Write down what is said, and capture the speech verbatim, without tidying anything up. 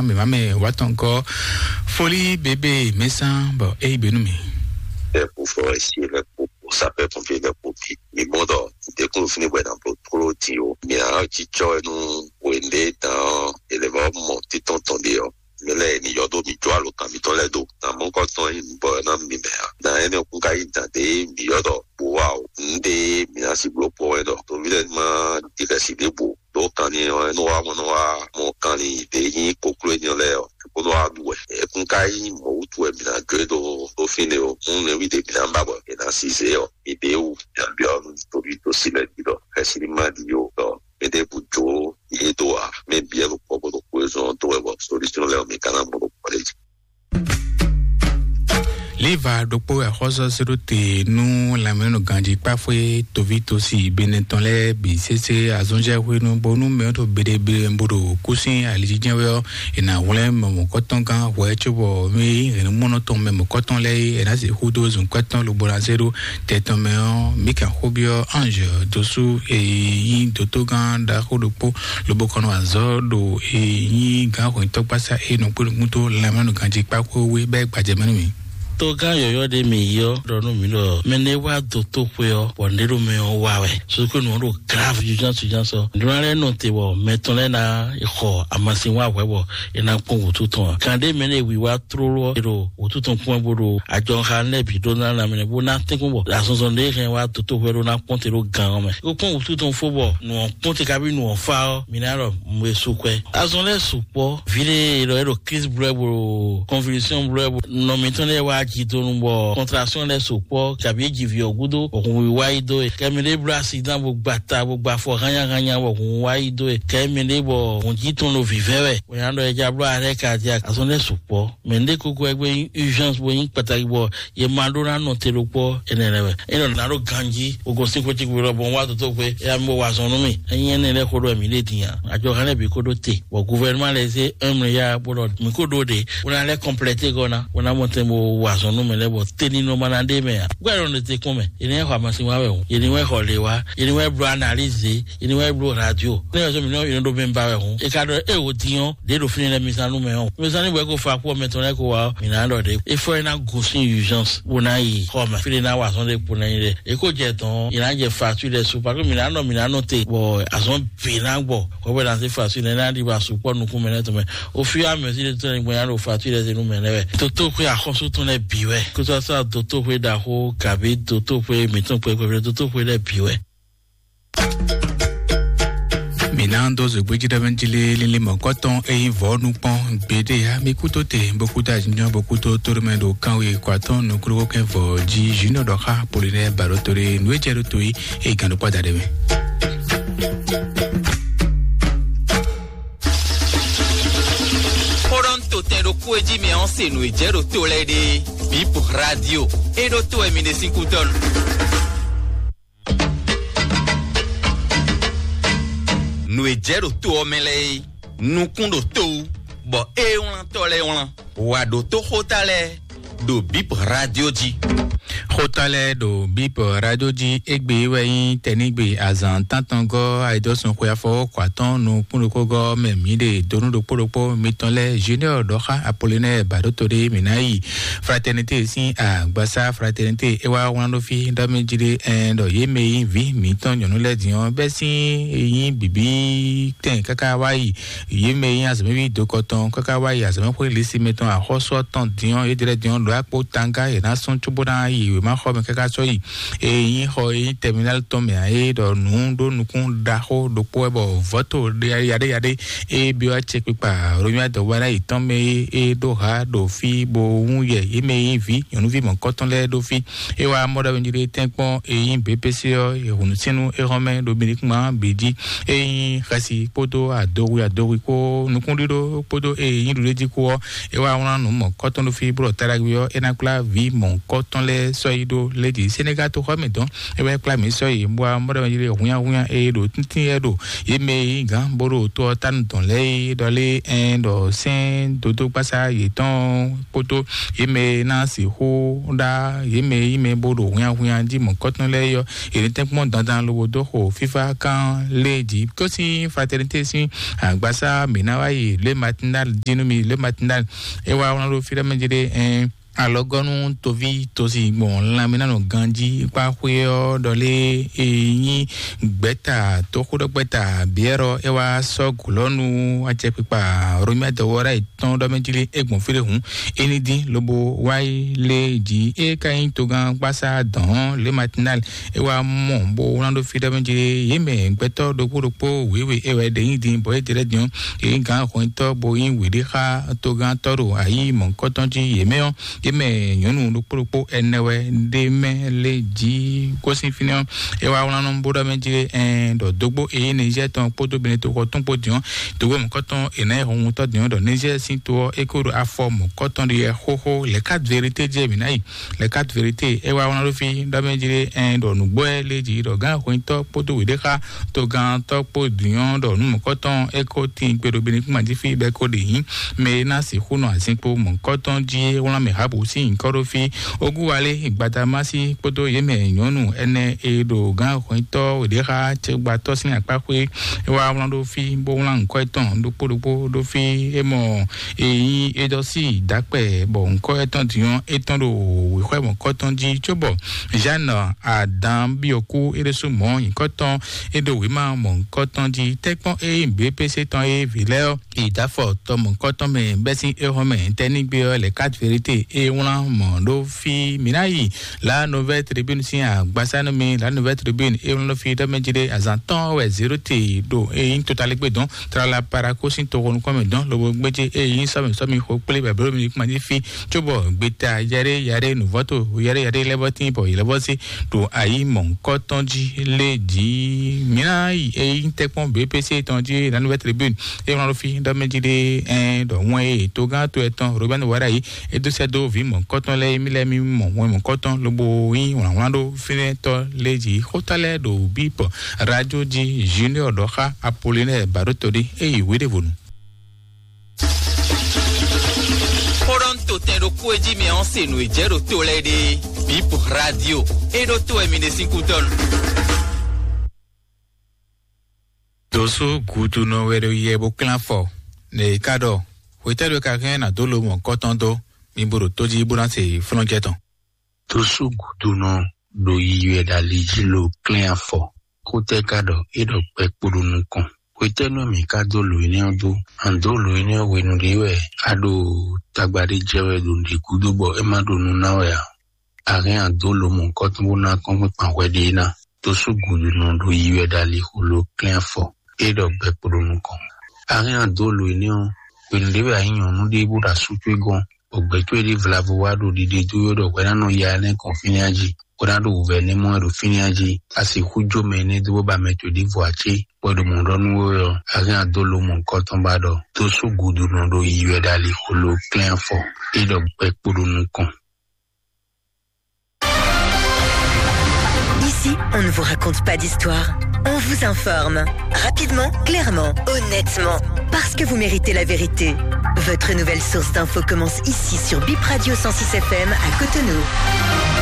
Mɛ ma mɛ wa tɔn kɔ foli bebe mɛ san bɔ e yi benu mi. Ɛ kú fɔ esi lɛ kó sapɛ pɔnpiɛ lɛ kó bi mi mɔ dɔ dekun fini bɔ na blo klo ti o mi a ci tsɔ nu wende dan elevɔ mɔ titɔn tɔn de ɔ mi lɛ ni yɔ do mi jɔ alo kan mi tɔn lɛ do na mɔ kɔ tɔn yi bɔ na mi mɛ a na ɛnɛ kun ka yi dan de mi yɔ dɔ bo wa o n de mi na si blo kpɔ wɛ dɔ tovi lɛ ma di kɛ si de bo do kan ni ɔ ɛnɛ wa mɔ nɔ wa mɔ kan ni de yi koklo enyɔ lɛ ɔ ko nɔ wa du wɛ ekun ka yi mɔ wutu wɛ mi na jɔ do do fi ne o mun ne wi de mi na ba bɔ e na si ze ɔ mi de wu mi na bi ɔ nu tovi to si lɛ bi dɔ kɛsi ni ma di o dɔ mi de bu jo ye do wa mi bi ɛlu kpɔ ko do ko ezɔn do wɛ bɔ solution lɛ o mi kana mɔ do kpɔ de ji. Liva ɖokpó axɔ́sɔ sérò te nú lanmɛnɔ ganjí kpáfwé tovítosí benɛtɔn lɛ́ɛ bǐ sésé azɔnjɛhwenu bónú mɛ ɖo beɖebe bó ɖo kúsín alijijɛ wɛ ɔ́, è nǎ hwlɛ́n mɛ mɔ̌kɔtɔn gán hwɛ cóbɔ mí hɛ̌nnumɔnɔ tɔn mɛ mɔ̌kɔtɔn lɛ́ɛ é, è nǎ sixú dó zunkwɛ́ tɔn lobo ná zé ɖó tɛ tɔn mɛ ɔ́, mí kan xó byɔ́ Ange dósú e nyí dótógán ɖaxó ɖokpó lobo kɔn nɔ azɔ̌ ɖo e nyí gǎn hwɛ̌ntɔ́gbasá e nɔ kpé nukún tó lanmɛnɔ ganjí kpákpó wé bɛ́ gbajɛ mɛ nú mì. Togán yɔ̌yɔ́ ɖé mi yɔ ɖɔ nú mi ɖɔ mɛ ne wá dó tó xwe ɔ́, bɔ nɖé ɖo mɛ ɔ́ wá wɛ. Sukúnu ɔ́ ɖo grave urgence urgence ɔ́. Nǔɖé lɛ́ɛ nɔ te bɔ mɛ tɔn lɛ́ɛ ná xɔ amasin wá hwɛ bɔ é ná kpɔ́n wǔtu tɔn ǎ. Kan ɖé mɛ ne wiwa tlóló ɔ́, é ɖo wǔtu tɔn kpɔ́n bó ɖo ajɔxa lɛ́ɛ bǐ ɖó ná ná mɛ bó ná tɛ́nkpɔ́n bɔ azɔnzɔn ɖé hɛn wá dó tó hwɛ ɖó ná kpɔ́n te ɖó gan ɔ́ mɛ. Kó kpɔ́n wǔtu tɔn fó bɔ nǔ ɔ́ kpɔ́n te kabi nǔ ɔ́ fá ɔ́, mi ná ɖɔ mɛ su kwɛ. Azɔn lɛ́ɛ sukpɔ́. Viɖe ɖɔ é ɖo crise blɔ ɛ bo convulsion blɔ ɛ bo nɔ mitɔn lɛ́ɛ wá jidonu bɔ contraction lɛ́ɛ sukpɔ́ kabi é ji vǐ ɔ́ gúdo bɔ hun wá yi dó e. Kɛ mi ɖé bló accident bo gba ta bo gba afɔ hánnyáhánnyá bɔ hun wá yi dó e. Kɛ mi ɖé bɔ hun jí tɔn ɖo vǐvɛ́ wɛ. Bɔ nya ɖɔ é já bló arrêt cardiaque. Azɔn lɛ́ɛ sukpɔ́. Mɛ ɖé kókó ɛgbɛ nyí urgence bo nyí kpataki bɔ ye ma ɖó ná nɔ te ɖokpɔ ɛnɛ lɛ wɛ. E nɔ ná ɖo ganji o gosín xwé tí kúrò bɔn wá tó tó xwé e ami bo wà zɔn nú mi. Enyi ɛnɛ lɛ xó ɖo mi ɖe din a. Àjọ hɛn lɛ bi kó ɖó te. Bɔ gouvernement lɛ zé un milliard bó ɖɔ mi kó ɖó ɖe. Wona lɛ complète gɔna. Wona mɔ tɛn bo wà zɔn nú mi lɛ bɔ teni nɔ ma na ɖe mɛ a. Gbɛ lɔ ne te kún mɛ. Yeni wɛ xɔ amasin wa wɛ o. Yeni wɛ xɔ le wa. Yeni wɛ blɔ analyse. Yeni wɛ blɔ radio. Ne yɔ sɔ mi nɔ yeni ɖo mi ba wɛ o. E ka ɖɔ e wo din ɔ. Ɖe ɖo fini lɛ mi zan nú mɛ ɔ. Mi zan ní bɔ e ko fa kú ɔmɛ tɔn lɛ ko wa ɔ. Mi na ɖɔ ɖe. E fɔ e na gosin urgence. Bo na yi xɔ mɛ. Fini na wa sɔn ɖe kpo na yi ɖe. E ko jɛ tɔn. Yi na jɛ facture lɛ su. Parce que mi na nɔ mi na nɔ te. Bɔ azɔn bi na gbɔ. Kɔ bɛ na se facture lɛ na di ba su kpɔ nukun mɛ lɛ tɔn mɛ. O fi amɛ si de tɔn ne gbɔ ya ɖo facture lɛ se nu mɛ lɛ wɛ. Toto ko axɔsu tɔn lɛ bi wɛ. Ko sɔ sɔ doto ko da ko kabi doto ko mi tɔn ko ko doto ko lɛ bi wɛ. Mina do zogbe jí ɖe mɛ jí lé lílí mɔ̌kɔtɔn eye vɔ̌ nu kpɔn gbeɖé ya mi kútó te bó kútó àjíjɔ bó kútó tóɖó mɛ ɖo kánwé kɔ atɔn nukúlókó kɛn vɔ̌ jí junior ɖɔ xá Apollinaire Barotore nú é jɛ ɖó to yi eye gǎn ɖó kpɔ́ da ɖe mɛ. Xóɖɔ́ntotɛn ɖokpó e jí mi ɔ́ se nǔ e jɛ ɖo to lɛ́ɛ ɖe. Bip Radio e ɖó to wɛ mi ɖe sín kútɔ́ nu. Nǔ e jɛ ɖo to ɔ́ mɛ lɛ́ɛ é, nukún ɖo to wú, bɔ é wlántɔ́ lɛ́ɛ wlán. Wǎ ɖótó xóta lɛ́ɛ ɖo Bip Radio jí. Xóta lɛ́ɛ ɖo Bip Radio jí égbé wɛ nyí tɛnígbe azǎn tántɔngɔ́ ayidɔ́sɔn xwe afɔwɔ́ kɔ atɔ́ɔ́n nukúnnukúngɔ́ mɛ mǐ ɖe donu ɖokpó ɖokpó mitɔn lɛ́ɛ Junior ɖɔxá Apollinaire Baɖótodé mǐ ná yi Fraternité sín agbasá Fraternité é wá wlán ɖó fí ɖɔ mɛ jí ɖé ɛn ɖɔ yě mɛ e nyí vǐ mǐtɔn nyɔ̌nu lɛ́ɛ din ɔ́ bɛ́ sín e nyí bǐbí tɛn káká wá yi yě mɛ e nyí azɔ̌mɛví dokɔtɔn káká wá yi azɔ̌mɛxwé lisi mɛtɔn axɔ́sú ɔ́ tɔn din ɔ́ yě ɖe lɛ́ɛ din ɔ́ ɖo akpó tanga yě ná sɔ́n cóbó ná yi wěmaxɔ mɛ káká sɔ́ yi e nyí xɔ e nyí tɛminál tɔn mɛ ǎ é ɖɔ nǔ ɖó nukún ɖaxó ɖokpó wɛ bɔ vɔ̌to yaɖéyaɖé e byɔ́ acɛkpikpa Romia dɔ̌wúná yětɔn mɛ e é ɖó ha ɖo fí bó wún yɛ yě mɛ e nyí vǐ nyɔ̌nuví mɔ̌kɔtɔn lɛ́ɛ ɖó fí. É wá mɔ ɖɔ nyí ɖe tɛ́nkpɔ́n e nyí B P C ɔ́, e hǔn sínú é hɔn mɛ ɖo Benikuma bǐ jí. E nyí xɛsi kpódó adowi adowi kpó nukúnɖíɖó kpódó e nyí ɖuɖéjí kpó ɔ́, é wá wlán nǔ mɔ̌kɔtɔn ɖó fí bó ɖɔ Taɖagbe ɔ́, é ná kplá vǐ mɔ̌kɔtɔn lɛ́ɛ sɔ́ yi ɖó lédi Senegal toxɔ mɛ dɔn. É wɛ kplá mǐ sɔ́ yi bó a mɔɖɔ mɛ yiri húnyáhúnyá e ɖo tíntín yɛ ɖo yě mɛ e nyí gǎn bó ɖo to ɔ́ tánu dɔn lɛ́ɛ é ɖɔ lé ɛn ɖɔ sɛ́n dodó gbásá yětɔn kpódó yě mɛ e ná sixú ɖá yě mɛ e nyí mɛ bó ɖo húnyáhúnyá jí mɔ̌kɔtɔn lɛ́ɛ yɔ yě ní tɛ́nkpɔ́n dandan lobo dó xo fífá kán lé jí. Kó sín fraternité sín agbásá mǐ ná wá yi lé matinal jí nú mi lé matinal. É wá wlán ɖó fí ɖɔ mɛ jí ɖé ɛn alɔgɔnu tovi tosi gbɔn lanmɛnanu ganji kpa xwe ɔ ɖɔle e nyi gbɛta toxoɖɔgbɛta biɛrɔ e wa sɔ gulɔnu acɛkpikpa romia dɔwɔra etɔn ɖɔ mɛ jili egbɔn fele hun eni din lobo wa yi le ji e ka nyi togan gbasa dɔn le matinal e wa mɔ bo wlan ɖo fi ɖɔ mɛ jili ye mɛ gbɛtɔ ɖokpo ɖokpo wewe e wɛ ɖe nyi din bɔ e jɛ ɖe din e nyi gan xɔntɔ bo nyi weɖe xa togan tɔ ɖo ayi mɔkɔtɔn ji ye mɛ ɔ ye mɛ nyɔnu ɖokpo ɖokpo ɛnɛ wɛ ɖe mɛ le ji gosin fínɛ ɔ e wa wlan nɔ bo ɖɔ mɛ ji ɛn ɖɔ dogbo e nyi niger tɔn kpódó benin toxɔ tɔn kpó diɔn dogbo mɔkɔtɔn e na yi hɔn ŋutɔ diɔn ɖɔ niger sin to ɔ e ko ɖo afɔ mɔkɔtɔn ɖi yɛ xoxo le quatre vérité jɛ mi na yi le quatre vérité e wa wlan ɖo fi ɖɔ mɛ ji ɛn ɖɔ nugbɔ ɛ le ji ɖɔ gan xɔntɔ kpódó weɖe xa togantɔ kpó diɔn ɖɔ nu mɔkɔtɔn e ko tin gbeɖo benin kuma ji fi bɛ ko ɖe nyi mɛ e ná sixú nɔ azinkpo mɔ̌hunkɔtɔn jí é wlán mɛ Habu sín nyǐkɔ ɖó fí. Ogúwalé Gbadamási kpódó yě mɛ nyɔ̌nu ɛnɛ e ɖo gǎn hwɛntɔ́ ɖě xá cɛgbatɔ́ sín akpá xwé é wá wlán ɖó fí, bó wlán nyǐkɔ yětɔn ɖokpó ɖokpó ɖó fí. É mɔ e nyí é dɔ sí dǎkpɛ, bɔ nyǐkɔ yětɔn din ɔ́, é tɔn ɖo wěxwɛ́ mɔ̌kɔtɔn jí, cóbɔ Jeanne Adam byɔ́ kú é ɖésú mɔ̌ nyǐkɔ tɔn é ɖo wěma mɔ̌hunkɔtɔn jí. Tɛ́nkpɔ́n e nyí B P C tɔn e vǐ lɛ́ɛ ɔ́, yi dó afɔ tɔ mɔ̌hunkɔtɔn mɛ bɛ́ sín éhɔ́n mɛ tɛ́ ní gbé ɔ́, lɛ quatre vérité e wlán mɔ̌ ɖó fí. Mǐ ná yi La Nouvelle Tribune sín agbasá nú mi. La Nouvelle Tribune e wlán ɖó fí ɖɔ mɛ jí ɖé azǎn tɔn wɛ zéro te ɖo e nyí totalégbé dɔn tlala paraku sín toxo nukɔn mɛ dɔn lobo gbéjé e nyí sɔmi sɔmi xo kplé bɛbɛló mi kpán jí fí, cóbɔ gbeta yɛɖé yɛɖé nǔvɔ́to yɛɖé yɛɖé lɛ́vɔ́tín bɔ yě lɛ́vɔ́ sí ɖo ayi mɔ̌hunkɔtɔn jí lé jí. Mǐ ná yi e nyí tɛ́kpɔ́n B P C tɔn jí La Nouvelle Tribune e wlán ɖó fí ɖɔ mɛ jí ɖé ɛn ɖɔ wɛn e togán to ɛtɔn Robert Wara yi é dó sɛ́ dó vǐ mɔ̌hunkɔtɔn lɛ́ɛ, mí lɛ́ɛ mí mɔ wɛn mɔ̌hunkɔtɔn lobo nyí wlǎnwlán ɖó fínɛ́tɔ́ lé jí. Xóta lɛ́ɛ ɖo bípɔ radio jí Junior ɖɔ xá Apollinaire Baɖótɔɖé é yi wěɖévonu. Xó ɖɔ ń to tɛn ɖokpó e jí mi ɔ́ se nǔ e jɛ ɖo to lɛ́ɛ ɖe. Bip radio e ɖo to wɛ mi ɖe sín kútɔ́ nu. Dosu gudunɔ wɛ ɖo yɛ bó klán afɔ. Nɛ ka ɖɔ hwetɛ́ɖo ka hɛn nǎ dó lo mɔ̌kɔtɔn dó, mi bo ɖo tó jí bó ná se flɔ́njɛ tɔn. Dosu gudunɔ ɖo yiyi wɛ ɖo ali jí lo klɛ́n afɔ. Xótɛ́ ka ɖɔ é ɖɔ gbɛ kpo ɖo nukɔn. Hwetɛ́nu mǐ ka dó lǒ énɛ́ ɔ́ dó? An dó lǒ énɛ́ ɔ́ hwenu ɖé wɛ a ɖo tagba ɖé jɛ wɛ ɖo nǔɖé gúdo bɔ é má ɖo nú ná wɛ ǎ. A hɛn an dó lǒ mɔ̌hunkɔtɔn bó ná kɔ́nkpɛn kpan hwɛ ɖé ná. Dosu gudunɔ ɖo yiyi wɛ ɖo alixo lo klɛ́n afɔ. É ɖɔ gbɛ kpo ɖo nukɔn. A hɛn an dó lǒ énɛ́ ɔ́, hwenu ɖé wɛ a nyí nyɔ̌nu ɖé bó ɖo asú towe gɔ́n, bɔ gbɛ̌ towe ɖé vlavo wá ɖo ɖiɖe dó we ɖɔ hwɛ ná nɔ ya énɛ́ kɔn fínɛ́ jí, bó ná ɖo wǔvɛ́ énɛ́ mɔ wɛ ɖo fínɛ́ jí. A sixú jó mɛ énɛ́ dó bó ba mɛ towe ɖěvo ǎ cé? Bɔ è ɖo mɔ̌ ɖɔ nú we wɛ ɔ́, a hɛn an dó lǒ mɔ̌hunkɔtɔn ba ɖɔ: Dosu gudunɔ ɖo yiyi wɛ ɖo alixo lo klɛ́n afɔ. É ɖɔ gbɛ kpo ɖo nukɔn. Ici, on ne vous raconte pas d'histoire. On vous informe. Rapidement, clairement, honnêtement. Parce que vous méritez la vérité. Votre nouvelle source d'infos commence ici sur Bip Radio cent six F M à Cotonou.